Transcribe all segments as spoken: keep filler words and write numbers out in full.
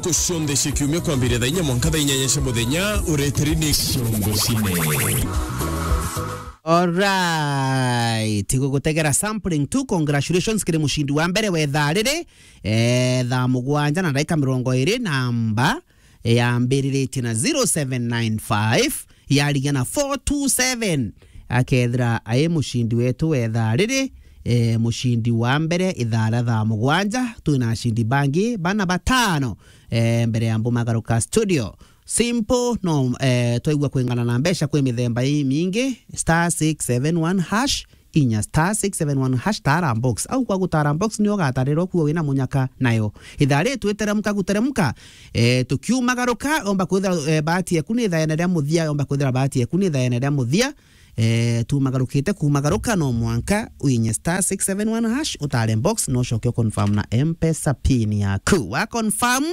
Ntuku cionthe cia kiumia kwambiria thaa inya mwanka thaa inyanya cia muthenya, ureteri ni Ciongo Cine. Alright, igugutegera sampling tu. Congratulations kiri mucindi wa mbere wa ithaa riri, eh, thaa mugwanja na ndagika mirongo iri na mba, eh, yambiriritie na zero seven nine five, yarigia na four two seven. Akethira ai mucindi wetu wa ithaa riri, eh, mucindi wa mbere ithaa ria thaa mugwanja, twina acindi bangi bana batano, eh, mbere ya mbumagaruka studio. Simple, no, eh, twaigua kwingana na mbeca kwi mithemba imingi, star six seven one hash, inya star six seven one hash, tara box. Au kwa gutara box ni ugatarirwa kuo wina munyaka nayo. Ithaa ri twiteremka guteremka, eh, tukiumagaruka, omba kwithira, eh, bahati eku ni ithaene ria muthia, omba kwithira bahati eku ni ithaene ria muthia. Eh, tumagarukite kumagaruka, no mwanka uinye star six seven one hash, utare box, no ucoke uconfirm na M-Pesa pin yaku. Wa confirm,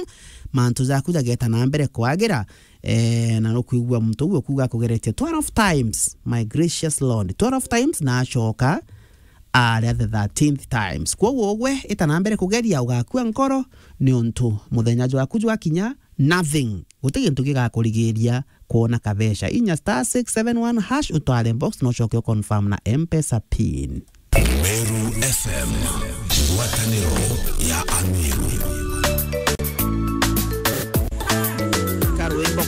mantu jaku jageta na mbere kwagira, eh, na nukwigua muntu uguo kuga akugeretie twelve times, my gracious Lord, twelve times, na acoka aria the thirteenth times. Kwoguo ugwe, ita na mbere kugeria, ugakua nkoro, niuntu muthenya jwaku jwakinya, nothing, guti gintu gigakurigiria kwona kabeca. Inya star six seven one hash, utware box, no ucoke uconfirm na M-Pesa pin. Meru F M, ngwataniro ya Ameru. Karwimbo,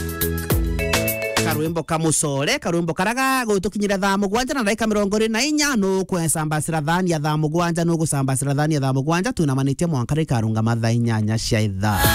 karwimbo ka mucore, karwimbo karaga gutukinyira thaa mugwanja na ndagika mirongo iri na inya, nukwesambasira thani ya thaa mugwanja, nugusambasira thani ya thaa mugwanja, twinamanitie mwanka rikarungama thaa inyanya cia ithaa.